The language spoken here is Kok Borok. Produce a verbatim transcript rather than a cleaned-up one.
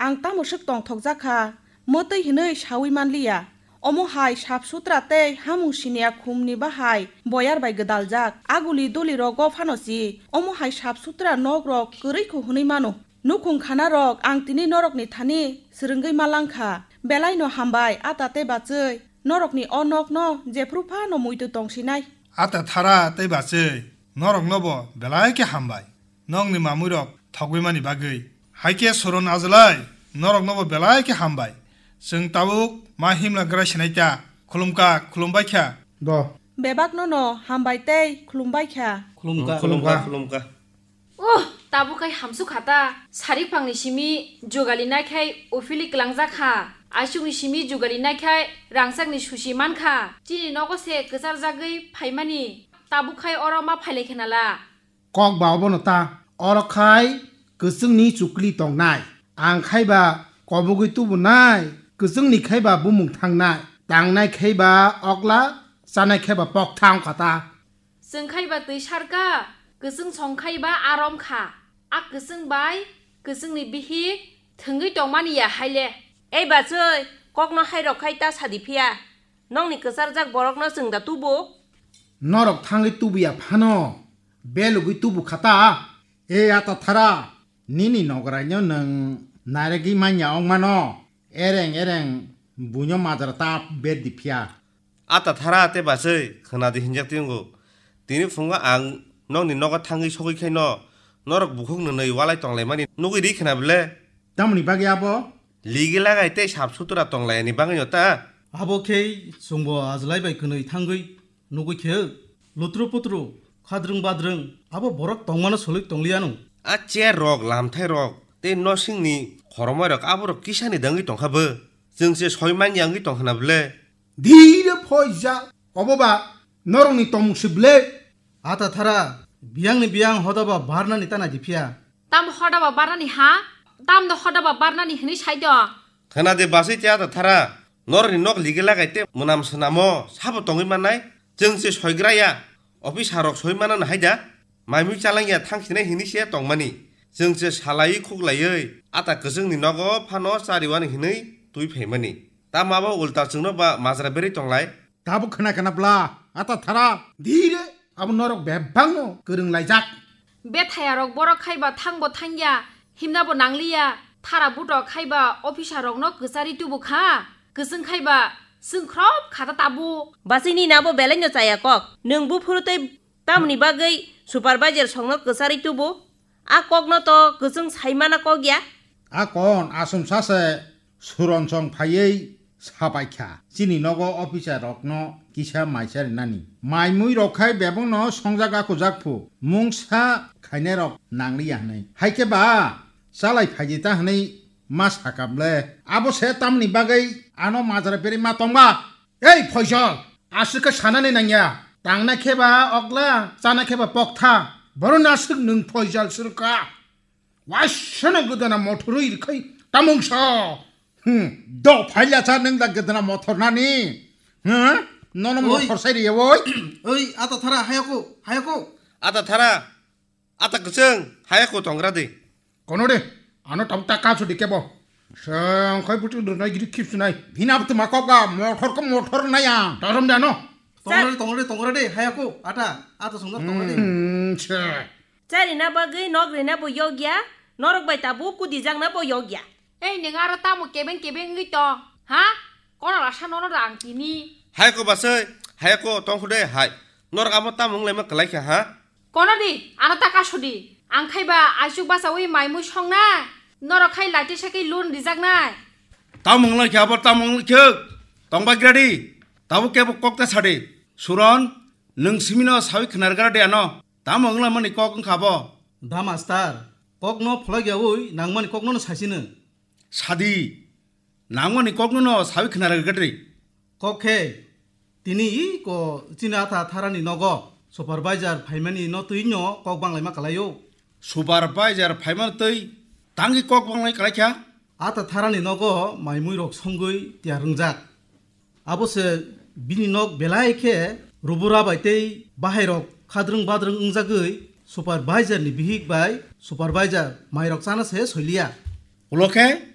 ang tamo swk tongthokjak kha, mwtwi hwnwi saui man liya. Omo hai sap sutra tei hamung siniya khumni bahai boyar bai gwdaljak. Aguli duli rogo phano si omo hai sap sutra nok rok kwrwi kho hwnwi mano. Nukhung khana rok ang tini norokni thani swrwngwi ma lang kha. Belai no hambai, ata tei bachwi, norokni o nok no jephru phano muitu tong sinai. Ata thara tei bachwi, norok no bo belai khe hambai. Nokni mamui rok thogwi mani bagwi. Hai khe Soron Ajlai, norok no bo belai khe hambai. Chwng tabuk ma himla grai sinai ta. Khulumkha, khulumbai kha. Do. Bebak no no hambai tei khulumbai kha. Khulumkha. Khulumkha. Khulumkha. Uh, tabuk khai hamsuk kha ta. Sarik phangni simi jugali nai khai uphili kwlangjak kha. Aisukni simi jugali nai khai rangchakni susi man kha. Chini nogo se kwcharjagwi phaimani. Tabuk khai oro ma phailai khe nala. Kok ba obono ta. Oro khai kwchwngni chukli tongnai. Ang khai ba kobogwi tubunai. Kwchwngni khai ba bumung thangnai. Tangnai khai ba okla, chanai khai ba pokthang kha ta. Chwng khai ba twi sarka, kwchwng song khai ba arom kha. A kwchwng bai kwchwngni bihik thwngwi tongmani ya haile. Ei bachwi, kokno hai rok khai ta sadi phiya. Nokni kwcharjak borokno chwng da tubu? Norok thangwi tubuya phano, belugwi tubu kha ta. Ei ata thara, nini nogoraino nwng nairagwi manya wng mano. Ereng ereng buino majra ta ber di phiya. Ata thara tei bachwi khwnadi hinjak tongo. Tini phungo ang nokni nogo thangwi sogwi khaino norok bukhuk nwnwi walai tonglaimani nugwi ri khna bwle? Tamoni bagwi abo? Ligi lagai tei sap sutra tonglaiyani bagwino ta. Abo khe chwngbo Ajlai bai kwnwi thangwi nugwi khe lutru putru, khadrwng badrwng, abo borok tongmano soloi tongliya no. A chair rok, lamthai rok tei nosingni khoromoi rok aborok kisani dangwi tongkha bo. Chwng se soi manya wngwi tong khna bwle? Dhire phoija, obo ba norokni tongmung se bwle? Ata thara, biyangni biyang hoda ba barnani ta nai di phiya. Tam hoda ba barnani ha? Tam do hoda ba barnani hwnwi sai do. Khna de bachwi tei ata thara, norokni nok ligi lagai tei mwnam swnamo sabo tongwi mannai? Chwng se soigra ya, officer rok soi manano hai da? Maimui chalangya thangsinai hinwi se tongmani. Chwng se salaiwi khuklaiwi ata kwchwngni nogo phano chariwani hinwi twi phaimani. Tamo abo ulta chwngno ba majra berwi tonglai? Tabuk khna khna bla, ata thara, dhire, abo norok bebakno kwrwng laijak. Bethaya rok borok khai ba thang bo thangya, himna bo nangliya, thara buto khai ba officer rokno kwchari tubu kha, kwchwng khai ba chwngkhrop kha ta tabuk. Bachwi nini abo belai no chaya kok, nwng buphuru tei tamoni bagwi supervisor songno kwcharwi tubu? A kokno to kwchwng sai mana kok ya. A kon asumsa se Suron song phaiwi sapai kha, chini nogo officer rokno kisa maisa rinani. Mai mui rok khai bebakno songjak akujak phu, mungsa khainai rok nangliya hwnwi. Hai khe ba chalai phaidi ta hwnwi ma sakam le. Abo se tamni bagwi ano majra berwi ma tongba? Ei Phoijol, aswk khe sanani nangya. Tangnai khe ba okla, chanai khe ba poktha. Boroni aswk nwng Phoijol swrwngkha. Waisano gwdana mothorwi rwkhai tamungsa. Hmm, do phaila cha nwng da gwdana mothor nani. Hmm? Nono Oi. Mothor sai riya oi. Oi, ata thara, hayako, hayako. Ata thara, ata kwchwng, hayako tongra di. Kono de, ano tam ta kaso di kebo. Sengkhai buti rwnai gidi khipsunai. Bina buti makok ga, mothor ko mothor naya. Tarom de ano. Tongra de, tongra de, tongra de, hayako, ata, ata songdor tongra de. Hmm, che. Charina bagwi nok rina bo yokya, norok bai tabuk kudijakna bo yokya. Ei, nwng aro tamo kebeng kebeng wngwi tong, ha? Kono rasa nono da ang tini. Hai ko basai, hai ko tongkhu de, hai. Norok amo tamo wnglaima kwlai kha, ha? Kono di, ano ta kaso di. Ang khai ba aisuk bachawi mai mui songnai. Norok khai laiti sakhi loan rijaknai. Tamo wnglaikha, abo tamo wnglaikha. Tongba gradi. Tabuk kebo kok ta sadi. Suron, nwng simino sawi khnar gradi ano. Tamo wnglamani kok wngkha bo? Da master, kokno pholak yaui nangmani kokno no saisino. Sadi, nangmani kokno no sawi khna rwgwi gatre. Kok khe, tini i ko chini ata tharani nogo supervisor phaimani no twi no kok banglaima kalaio. Supervisor phaimani twi tangwi kok banglai kalaikha? Ata tharani nogo mai mui rok songwi tiyar wngjak. Abo se bini nok belai khe rubura bai tei bahairok khadrwng badrwng wngjagwi supervisor ni bihik bai supervisor mairok chana se soiliya. Ulo khe